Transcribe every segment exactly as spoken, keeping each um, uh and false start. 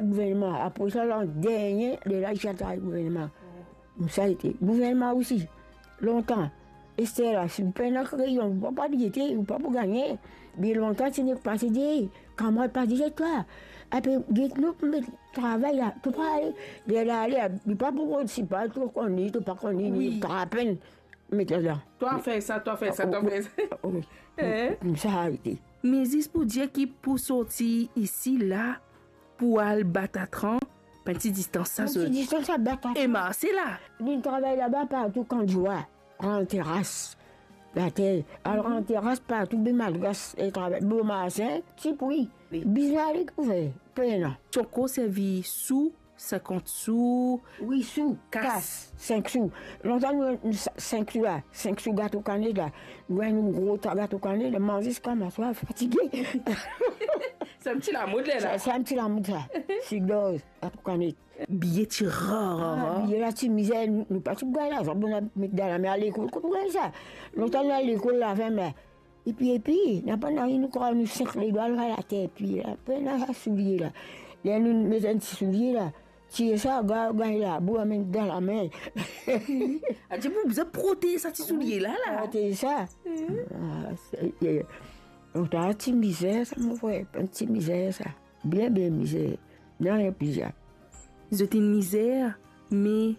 Gouvernman, apre sa, landernie, lerla li ti al travay gouvernman. Sa ete gouvernman osi, lontan. Ester la, si ou pena kreyon, ou pa pou gete, ou pa pou gagne. Bien lontan, ti nek pase dir, "Kamwad pa dir twa, ape get nou pou met travay la, to pa ale." Lerla ale, li pa pou rod, si pa to konn li, to pa konn li, wi, li trap enn, met ladan. Twa fer sa, twa fer sa, twa fer sa. Wi. Hein? Sa ete. Me zis pou dir ki pou sorti isi la, pou al Batatran, enn ti distans sa, enn ti zot distans sa, Batatran. E marse la. Li travay laba partou, Kandjoua, Gran Teras, later. Al Gran Teras partou, be malgas, e travay, Bomasin, ti pri. Wi. Bizin ale pou fer, pena. Ti ankor servi sou, sinkant sou, wi, sou, kas. Kas, sink sou. Lontan nou, nou sa-, sink sou la, sink sou gato kanet la. Nou gagn nou gro ta gato kanet la, manze ziska maswar, fatige. Sa enn ti lamod, lerla. Sa, sa enn ti lamod, sa. Sigor, gato kanet. Biye ti rar, rar, rar. Ah, biye la ti mizer, nou, nou pa ti gagn larzan, bon, nou met dan lame al lekol, kot nou gagn sa? Lontan nou al lekol, lavenn, me epi, epi, napa nanye, nou krwar nou sink ledwa, nou al ater, epi la, pena sa soulie la. Ler nou met enn ti soulie la, tire sa, ga-, gagn labou, amenn dan lame. Adir pou bizin protez sa ti soulie la, la. Protez sa. Mhm. Ah, se, e, donk, sa ti mizer sa, mo frer, enn ti mizer sa. Bien, bien mizer. Nanye pli sa. Zot inn mizer, me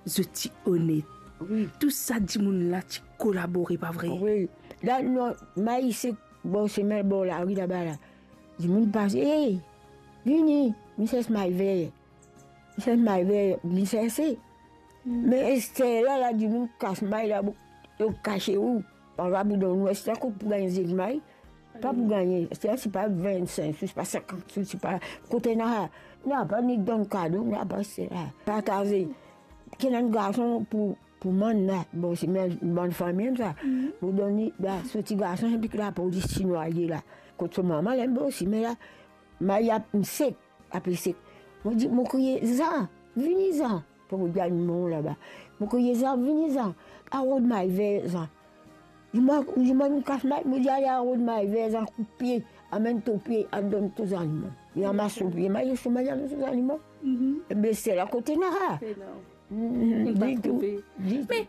zot ti onet. Wi. Tou sa dimoun la ti kolabore, pa vre? Wi. La, non, may sek bor sime, bor lari laba la. Dimoun pase, "Ey, vini, mi sers may ver." Mi sers may ver, mi serse. Mm. Me ester la, la, dimoun kas may la, bo-, yo kase ou. Pa pou donn ou, ester kot pou gagn zet may? Pa pou gagne. Ester, se pa vinn-sink sou, se pa sinkant sou, se pa kote nanye. Napa ni donn kado, napa sela. Partaze. Ki ena enn garson pou, pou mann la. Bon, se mem bann fami sa. Mhm. Pou donn li, la, so ti garson, epi ki lapolis ti nwaye la. Kot so mama, la, bon, sime la. May ap sek, apre sek. Mo dir, mo kriye, "Zan, vini Zan." Pou mo dir, "Mo laba." Mo kriye, "Zan, vini Zan. Al rod may ver, Zan." Li mwa, li mwa, mo kas may, mo dir, "Ale al rod may ver, Zan, koup pie, amenn to pie, al donn to zannimo." Li ramas to pie, may, li sou may, amenn to zannimo. Mhm. Ebe, sela kote nanye. Pena. Mhm, ditou, ditou. Me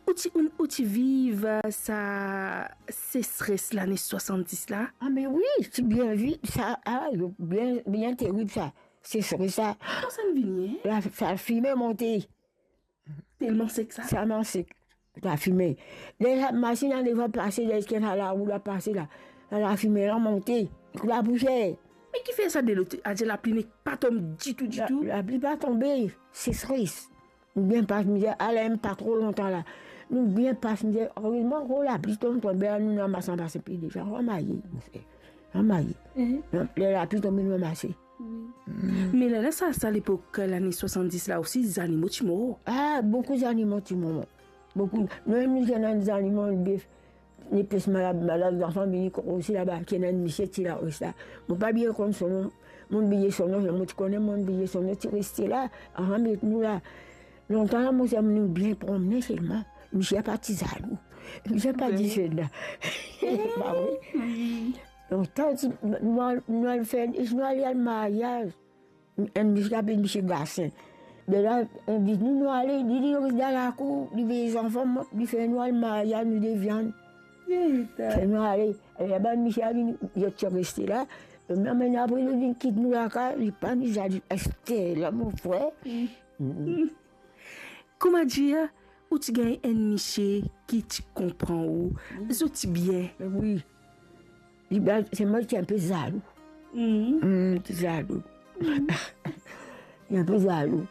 ou ti, ou, ou ti viv, euh, sa sesres lane swasanndis la? Ah, me wi, ti bien viv sa, ah, bien, bien terib sa. Sesres sa. Kouma sa vini, hein? La, sa fime monte. Telman sek sa? Telman sek. Lafime. Ler sa masinn an devan pase, ler ki ena larou la pase la, sa lafime la monte, labousier. Me ki fer sa delo, adir lapli nek pa tonbe ditou, ditou? La, lapli pa tonbe, sesres. Nou bien pas mizer, ale, pa tro lontan la. Nou bien pas mizer, erezman, oh, lapli tonbe, tonbe, nou ramas anba se pie deza, ramaye, mo frer. Ramaye. Mhm. Ler lapli tonbe, nou ramase. Wi. Mm. Me lerla sa, sa lepok, lane swasanndis la osi, zannimo ti mor. Ah, boukou zannimo ti mor. Boukou. Nou mem nou ti ena zannimo, enn bef, li plis malad, malad, zanfan vini krosi laba, ki ena enn misie ti la, reste la. Mo pa bien konn so nom, mo bliye so nom, mo ti kone, mo bliye so nom, ti reste la, avan met nou la. Lontan la, mo dir, nou bien promne selman. Misie pa ti zalou. Misie pa dir sela. Pa vre? Wi. Lontan, ti, nou al, nou al fer, nou al, al maryaz. Enn misie ki apel misie Gasin. Be la, invit nou, nou ale, li, li res dan lakour, li vey zanfan, li fer nou al maryaz, nou de viann. Fer nou ale. E laba, misie a vini, li ti reste la. Me apre, li vinn kit nou lakaz, li pa ni zalou, ester la, mo frer. Mm. Mm. Kouma dir, ou ti gagn enn misie ki ti konpran ou, wi, zot ti bien. Wi. Li bien, selman li ti enpe zalou. Mm. Mm, ti zalou. Mm. Li enpe zalou.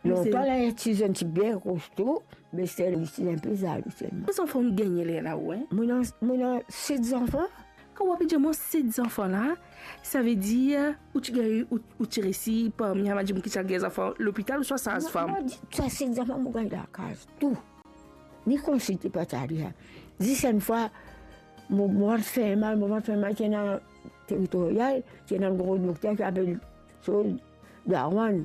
Me se lontan la, ti zenn, ti bien kosto, me ester li ti enpe zalou selman. Konbien zanfan ou gagne lerla ou, hein? Mo ena, mo ena set zanfan. Kan ou ape dir mwa set zanfan la, savedir ou ti gagn, ou, ou ti resi parmi sa bann dimoun ki ti al gagn zanfan lopital ouswa saz-fam? Non, non, sa set zanfan mo gagn lakaz, tou. Ni konsilte pa ti ale la. Zis enn fwa, mo, mo vant fer mal, mo vant fer mal, ti ena Teritorial, ti ena enn gro dokter ki apel so Darwan.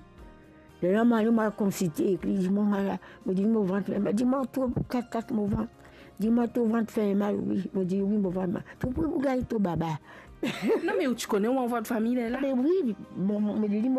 Lerla mo ale, mo al konsilte ek li, li dir mwa, mo dir, mo vant fer mal. Li dir mwa, to kat, kat mo vant. Li dir mwa, to vant fer mal, wi. Mo dir, wi, mo vant mal. To pou, pou gagn to baba. Non, me ou ti kone ou anvan fami lerla? Me wi, mo, mo, mo dir li, mo